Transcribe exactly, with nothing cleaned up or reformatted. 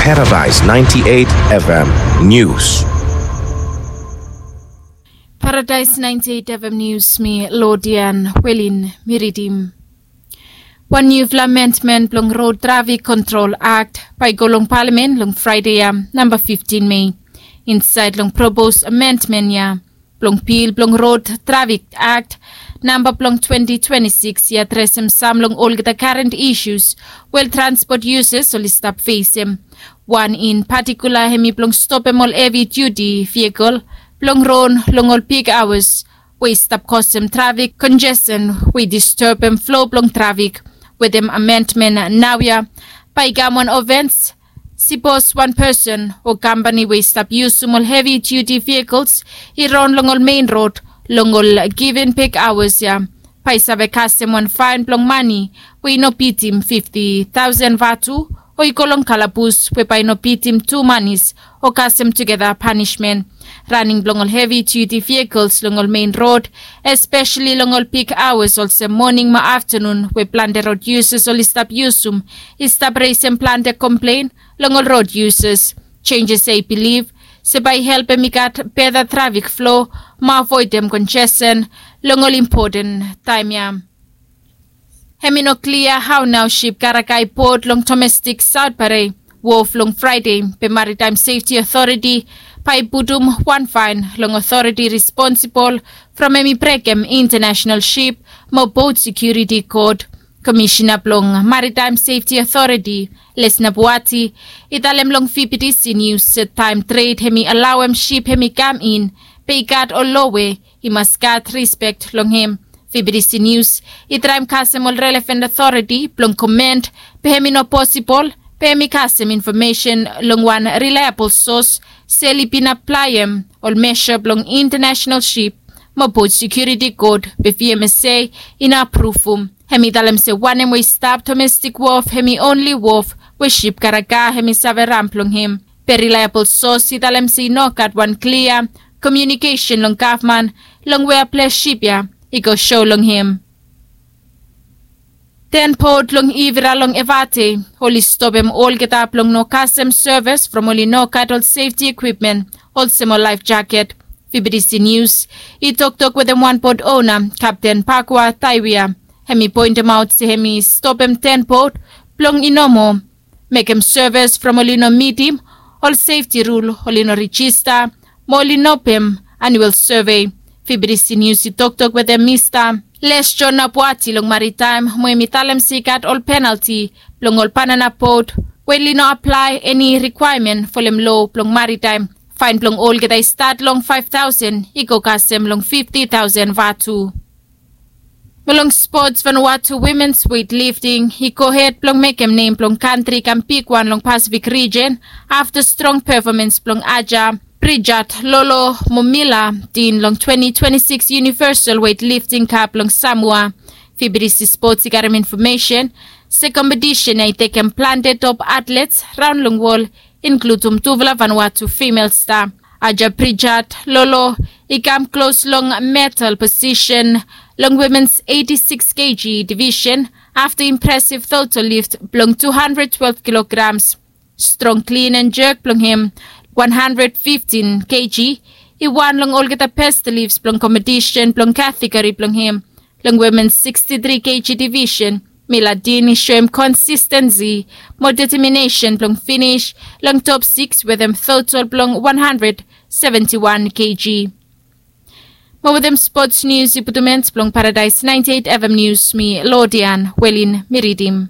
Paradise ninety-eight F M News. Paradise ninety-eight F M News, mi Lodian Welin, mi ridim. Wan niufala amendmen blong Road Traffic Control Act bae i go long palamen long Fraede ya, namba fiftin Mei. Insaed long propos amendmen ya blong bil blong Road Traffic Act namba blong twenti twenti sikis i adresem sam long olgeta karen isius we transpot yusas oli stap fesem. Wan in patikula hemi blong stopem ol hevi diuti vehikel blong ron long ol big aoas we i stap kosem trafik konjesten we i disturbem flo blong trafik. Wetem amendmen naoia bae i kam wan ofens. Sipos wan pesen o kampani we i stap yusum ol hevi diuti vehikels i ron long ol mein rod long ol given big aoas ya, bae i save kasem wan faen blong mane we i no bitim fifti taosen vatu, o i go long kalabus we bae i no bitim tu manis o kasem tugeta panismen. Raning blong ol hevi diuti vehikels long ol mein rod, espeseli long ol big aoas olsem moning mo aftanun we plante rod yusas oli stap yusum, i stap resem plante komplen long ol rod yusas. Jenjes ya i bilif se bae i helpem i gat beta trafik flo mo avoedem konjesten long ol impoten taem ya. Hemi no klia hao nao sip karaga i bod long domestik Saotpare wof long Fraede, be Maritaem Sefti Otoreti bae i putum wan faen long otoreti responsibol from hemi brekem Intanasenal Sip mo Bot Sekiuriti Kod. Komisena blong Maritaem Sefti Otoreti, Lesna Buati, i talem long V B T C Nius se taem tred hemi alaoem sip hemi kam in, be i gat ol loa we i mas gat rispek long hem. V B T C Nius i traem kasem ol relevan otoreti blong komen be hemi no posibol be hemi kasem infomesen long wan rilaebol sos se oli bin aplaem ol mesa blong Intanasenal Sip mo Bot Sekiuriti Kod be V M S A i no apruvum. Hemi talem se wanem we i stap domestik wof hemi onli wof we sip karaga hemi save ran blong hem. Be rilaebol sos i talem se i no gat wan klia komiunikesen long gavman long wea ples sip ya i go sou long hem. Ten bot long Ivira long Evate oli stopem olgeta blong no kasem sevis from oli no gat ol sefti ikwipmen olsem ol laef jaket. V B T C Nius i toktok wetem wan bot ona, Kapten Pakua Taiwia. Hemi poentemaot se hemi stopem ten bot blong i no moa mekem sevis from oli no mitim ol sefti rul, oli no rejista mo oli no pem anuel sovei. V B T C Nius i toktok wetem Mista Lesjo Nabuati long Maritaem mo hemi talem se i gat ol penalti blong ol banana bot we oli no aplae eni rikwaemen folem loa blong Maritaem. Faen blong olgeta i stat long faef taosen i go kasem long fifti taosen vatu. Mo long spots, Vanuatu wimens weitlifting i gohed blong mekem nem blong kantri i kam bigwan long Pasifik rijen afta strong pefomens blong Aja Brijat Lolo mo Mila Din long twenti twenti sikis Universal Weitlifting Cup long Samoa. V B T C Sports i karem infomesen se kompetisen ya i tekem plante top atlets raon long wol, inkludum tufala Vanuatu female star. Aja Brijat Lolo i kam klos long medal posisen long wimens eiti sikis keji divisen afta impresiv total lift blong tu handred twelef kilograms. Strong clean and jerk blong hem, wan handred fiftin keji, i wan long olgeta best lifts blong kompetisen blong kategori blong hem. Long wimens siksti tri keji divisen, Mila Din i soem konsistensi mo deteminesen blong finis long top sikis wetem total blong wan handred seventi wan keji. Mo wetem spots nius i putum en blong Paradaes naenti eit F M Nius, mi Lodian Welin mi ridim.